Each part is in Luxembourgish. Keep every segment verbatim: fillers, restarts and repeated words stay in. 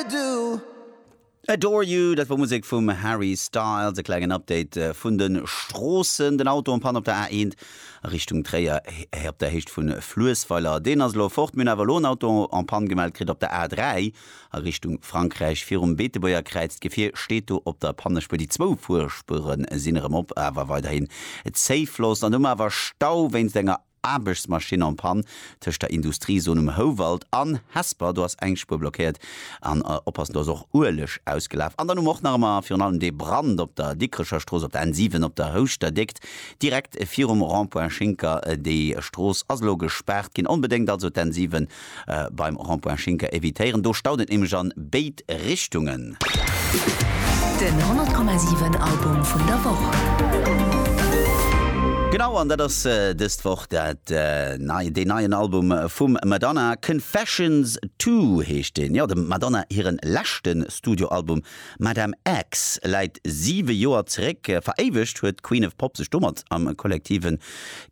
do. Adore You, dat war Musek vum Harry Styles, e klengen Update äh, vun de Stroossen, den Auto en panne op der A eent a Richtung Tréier op der Héicht vun Fluessweiler. Deen ass lo fort. Mir hunn awer lo en Auto en panne gemellt kritt op der A dräi a Richtung Frankräich virum Beetebuerger Kräiz. D'Gefier steet do op der Pannespuer. Déi zwou Fuerspuere sinn erëm op, awer weiderhin Zéifloss. An do awer Stau wéinst enger Aarbechtsmaschinn en panne tëscht der Industriezon um Houwald an Hesper. Do ass eng Spuer blockéiert an äh, oppassen, do ass och Ueleg ausgelaf. An dann och nach ëmmer virun allem de Brand op der Dikrecher Strooss op der N siwen op der Houschter Déckt direkt virum Rond-point Schinker. äh, Déi Strooss ass lo gespaart ginn. Onbedéngt also d'N siwen äh, beim Rond-point Schinker evitéieren. Do staut et nämlech an béid Richtungen. Den honnert Komma siwen Album vun der Woch. Genau, an dat ass äh, dës Woch dat äh, nei, den neien Album vum Madonna. Confessions zwee heescht den. Ja, dem Madonna hiren leschten Studioalbum Madame X läit siwe Joer zeréck. Veréiwegt huet Queen of Pop sech domat am kollektive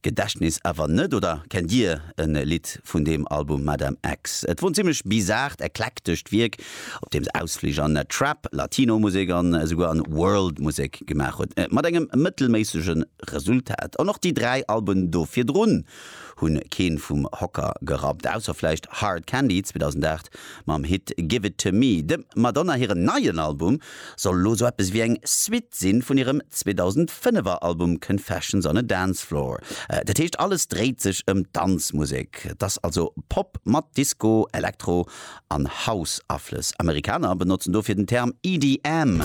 Gedächtnis awer net. Oder kennt Dir e Lidd vun deem Album Madame X? Et wor en zimmlech bizart, eklektescht Wierk, op deem se Ausflich an Trap, Latino-Musek an esouguer an World-Musek gemaach huet. Äh, mat engem mëttelméissege Resultat. An och déi dräi Alben do virdrun hunn keen vum Hocker gerappt, ausser vläicht Hard Candy zweedausendacht mam Hit Give It To Me. Dem Madonna hiren neien Album soll lo sou eppes wéi eng Suite sinn vun hirem zweedausendfënnef Album Confessions on a Dance Floor. Äh, dat heescht, alles dréit sech ëm Danzmusek. Dat ass also Pop mat Disco, Elektro an House-Aflëss. Amerikaner benotzen dofir den Term E D M.